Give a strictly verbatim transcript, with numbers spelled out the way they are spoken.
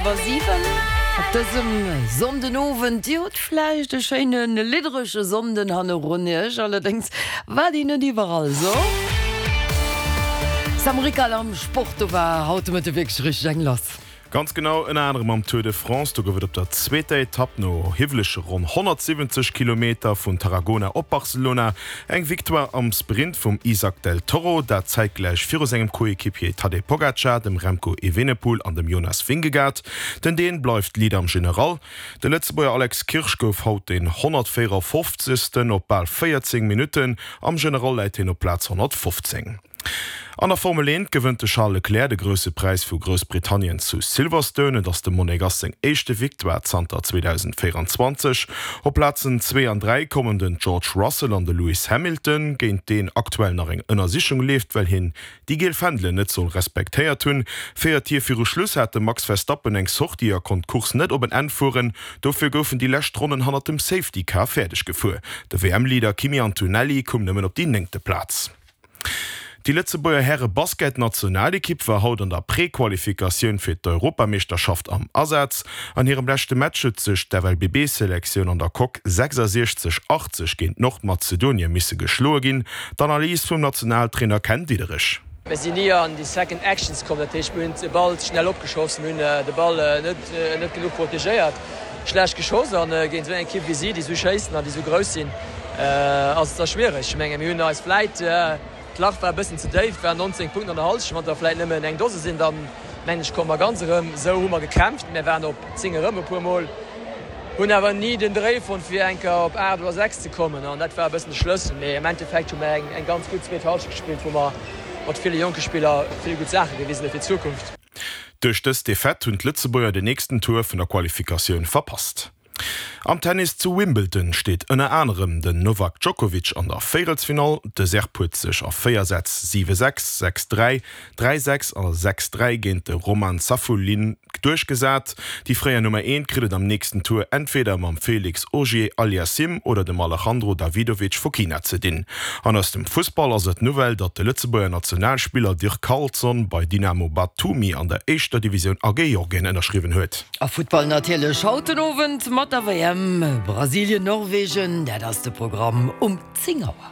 Iwwer siwen op dësem Sonndenowend. Dir hutt vläicht e schéine lidderege Sonnden hannerun Iech, allerdéngs war déi net iwwerall esou. Sam Rickal am Sport, do war haut de Mëtte wierklech richteg eng lass. Ganz genau, ënner anerem am Tour de France. Do gouf et op der zweeter Etapp no hiwwelege ronn honnertsiwwenzeg Kilometer vun Tarragona op Barcelona eng Victoire am Sprint vum Isaac del Toro, dat zäitgläich viru sengem Coéquipier Tadej Pogacar, dem Remco Evenepoel an dem Jonas Vingegaard. Den Dän bleift Leader am General. De Lëtzebuerger Alex Kirsch gouf haut deen honnertvéierafofzegsten op bal véierzéng Minutten. Am General läit hien op Plaz honnertfofzéng. An der Formel eent gewënnt de Charles Leclerc de Grousse Präis vu Groussbritannien zu Silverstone. Et ass dem Monegass seng éischte Victoire zanter zweedausendvéierenzwanzeg. Op Plazen zwee an dräi kommen den George Russell an de Lewis Hamilton, géint deen aktuell nach eng Ënnersichung leeft, well hien déi giel Fändelen net soll respektéiert hunn. Véier Tier viru Schluss hat de Max Verstappen eng Sortie a konnt d'Course net op en Enn fueren. Dofir goufen déi lescht Ronnen hannert dem Safety Car fäerdeg gefuer. De W M-Leader Kimi Antonelli koum nëmmen op déi néngte Plaz. Déi Lëtzebuerger Häre-Basket-Nationalekipp war haut an der Prequalifikatioun fir d'Europameeschterschaft am Asaz. An hirem leschte Match huet sech d'F L B B-Selektioun an der Coque sechsasiechzeg achtzeg géint Nordmazedonien misse geschloe ginn. D'Analys vum Nationaltrainer Ken Diederich. Mir sinn ni an déi Second Actions komm, dat heescht mir hunn de Ball schnell opgeschoss, mir hunn de Ball net net genuch protegéiert, schlecht geschoss an géint esou eng Ekipp wéi si, déi esou schéissen an déi esou grouss sinn, ass et da schwiereg. Ech menge mir hunn eis vläit, d'Lach war e bëssen ze déif, et waren nonzéng Punkten an der Hallschent, wann der vläit nëmmen eng Dose sinn, dann mengen ech komme mer ganz erëm. Esou hu mer gekämpft, mir waren op zéng erëm e puer Mol, hunn awer ni den Dréi fonnt fir eng Kéier op aacht oder sechs ze kommen an dat war e bëssen de Schlëssel. Mee am Endeffekt hu mer eng eng ganz gutt zweet Hallschent gespillt, wou mer mat ville jonke Spiller vill gutt Saache gewisen hu fir d'Zukunft. Duerch dës Defaite hunn d'Lëtzebuerger den nächsten Tour vun der Qualifikatioun verpasst. Am Tennis zu Wimbledon steet ënner anerem den Novak Djokovic an der Véierelsfinall. De Serb huet sech a véier Sätz siwe sechs, sechs dräi, dräi sechs a sechs dräi géint de Roman Safiullin duerchgesat. Déi fréier Nummer eent kritt et am nächsten Tour entweder mam Felix Auger-Aliassime oder dem Alejandro Davidovich Fokina ze dinn. An aus dem Fussball ass et d'Nouvelle, datt de Lëtzebuerger Nationalspiller Dirk Carlson bei Dynamo Batumi an der éischter Divisioun a Georgien ënnerschriwwen huet. A Futtball natierlech haut den Owend mat der W M. Brasilien, Norwegen, dat ass de Programm um zéng Auer.